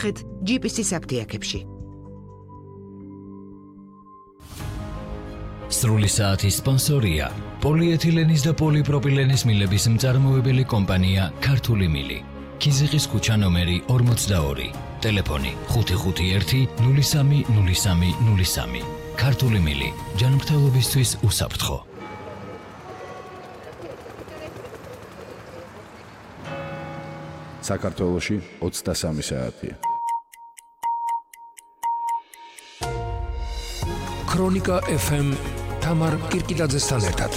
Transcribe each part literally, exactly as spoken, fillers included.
გაკითხეთ ჯი პი სი საფთიაქებში. სრული საათის სპონსორია პოლიეთილენის და პოლიპროპილენის მილების მწარმოებელი კომპანია ქართული მილი. ქიზიყის ქუჩა ნომერი ორმოცდაორი. ტელეფონი ხუთი ხუთი ერთი ნული სამი ნული სამი ნული სამი. ქართული მილი ჯანმრთელობისთვის უსაფრთხო. საქართველოში ოცდასამი საათია. ქრონიკა ეფ ემ თამარ კირკიტაძესთან ერთად.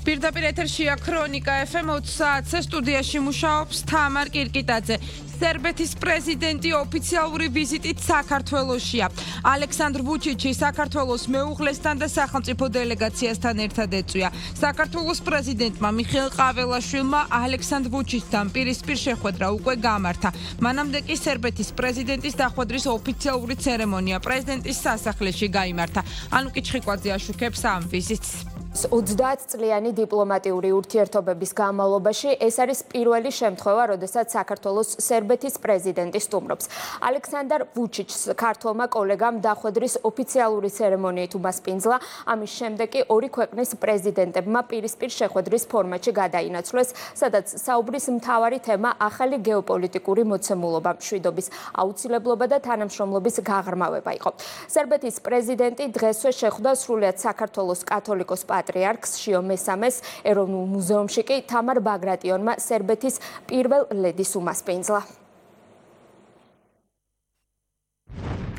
პირდაპირ ეთერშია ქრონიკა ეფ ემ ოცი საათზე სტუდიაში მუშაობს თამარ კირკიტაძე. სერბეთის პრეზიდენტი ოფიციალური ვიზიტით საქართველოშია. ალექსანდრ ვუჩიჩი საქართველოს მეუღლესთან და სახელმწიფო დელეგაციასთან ერთად ეწვია. საქართველოს პრეზიდენტმა მიხეილ ყაველაშვილმა ალექსანდრ ვუჩიჩთან პირისპირ შეხვედრა უკვე გამართა. მანამდე კი სერბეთის პრეზიდენტის დახვედრის ოფიციალური ცერემონია პრეზიდენტის სასახლეში გაიმართა. ანუკი ჩხიკვაძე აშუქებს ამ ვიზიტს. ოცდაათწლიანი დიპლომატიური ურთიერთობების განმავლობაში ეს არის პირველი შემთხვევა, როდესაც საქართველოს სერბეთის პრეზიდენტი სტუმრობს. ალექსანდრ ვუჩიჩს ქართველმა კოლეგამ დახვედრის ოფიციალური ცერემონიით უმასპინძლა. ამის შემდეგ კი ორი ქვეყნის პრეზიდენტებმა პირისპირ შეხვედრის ფორმატში გადაინაცვლეს, სადაც საუბრის მთავარი თემა ახალი გეოპოლიტიკური მოცემულობა, მშვიდობის აუცილებლობა და თანამშრომლობის გაღრმავება იყო. სერბეთის პრეზიდენტი დღესვე შეხვდა სრულიად საქართველოს კათოლიკოს პატრიარქს შიო მესამეს, ეროვნულ მუზეუმში კი თამარ ბაგრატიონმა სერბეთის პირველ ლედის უმასპინძლა.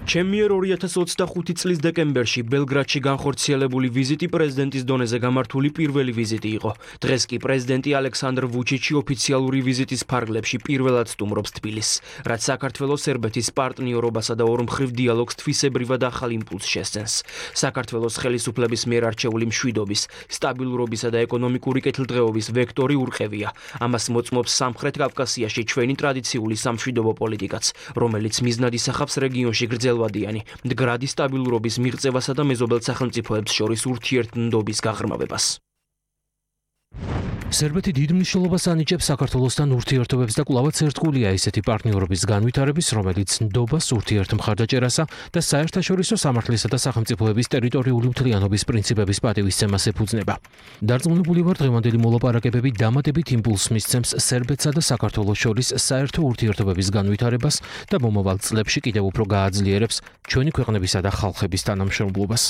ჩემიერ ორი ათას ოცდახუთი წლის დეკემბერში ბელგრადში განხორციელებული ვიზიტი პრეზიდენტის დონეზე გამართული პირველი ვიზიტი იყო. დღეს კი პრეზიდენტი ალექსანდრ ვუჩიჩი ოფიციალური ვიზიტის ფარგლებში პირველად სტუმრობს თბილისს, რაც საქართველოს სერბეთის პარტნიორობასა და ორმხრივ დიალოგს თვისებრივად ახალ იმპულსს შესცემს. საქართველოს ხელისუფლების მიერ არჩეული მშვიდობის, სტაბილურობისა და ეკონომიკური კეთილდღეობის ვექტორი ურყევია. ამას მოწმობს სამხრეთ კავკასიაში ჩვენი ტრადიციული სამშვიდობო პოლიტიკაც, რომელიც მიზნად ისახავს რეგიონში გრძელ მდგრადი სტაბილურობის მიღწევასა და მეზობელ სახელმწიფოებს შორის ურთიერთმდობის გაღრმავებას. სერბეთი დიდ მნიშვნელობას ანიჭებს საქართველოსთან ურთიერთობებს და კვლავაც ერთგულია ესეთი პარტნიორობის განვითარების, რომელიც ნდობას, ურთიერთმხარდაჭერასა და საერთაშორისო სამართლისა და სახელმწიფოების ტერიტორიული მთლიანობის პრინციპების პატივისცემას ეფუძნება. დარწმუნებული ვარ, დღევანდელი მოლაპარაკებები დამატებით იმპულსს მისცემს სერბეთსა და საქართველოს შორის საერთო ურთიერთობების განვითარებას და მომავალ წლებში კიდევ უფრო გააძლიერებს ჩვენი ქვეყნებისა და ხალხების თანამშრომლობას.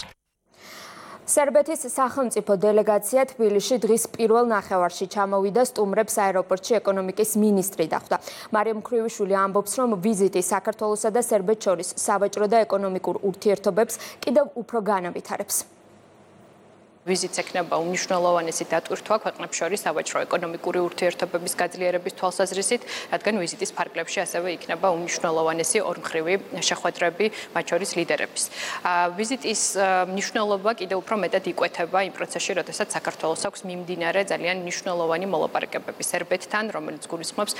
სერბეთის სახელმწიფო დელეგაცია თბილისში დღის პირველ ნახევარში ჩამოვიდა, სტუმრებს აეროპორტში ეკონომიკის მინისტრი დახვდა. მარიამ ქრივიშვილი ამბობს, რომ ვიზიტი საქართველოსა და სერბეთს შორის სავაჭრო და ეკონომიკურ ურთიერთობებს კიდევ უფრო განავითარებს. ვიზიტს ექნება უმნიშვნელოვანესი დატვირთვა ქვეყნებს შორის სავაჭრო ეკონომიკური ურთიერთობების გაძლიერების თვალსაზრისით, რადგან ვიზიტის ფარგლებში ასევე იქნება უმნიშვნელოვანესი ორმხრივი შეხვედრები მათ შორის ლიდერების. ვიზიტის მნიშვნელობა კიდევ უფრო მეტად იკვეთება იმ პროცესში, როდესაც საქართველოს აქვს მიმდინარე ძალიან მნიშვნელოვანი მოლაპარაკებები სერბეთთან, რომელიც გულისხმობს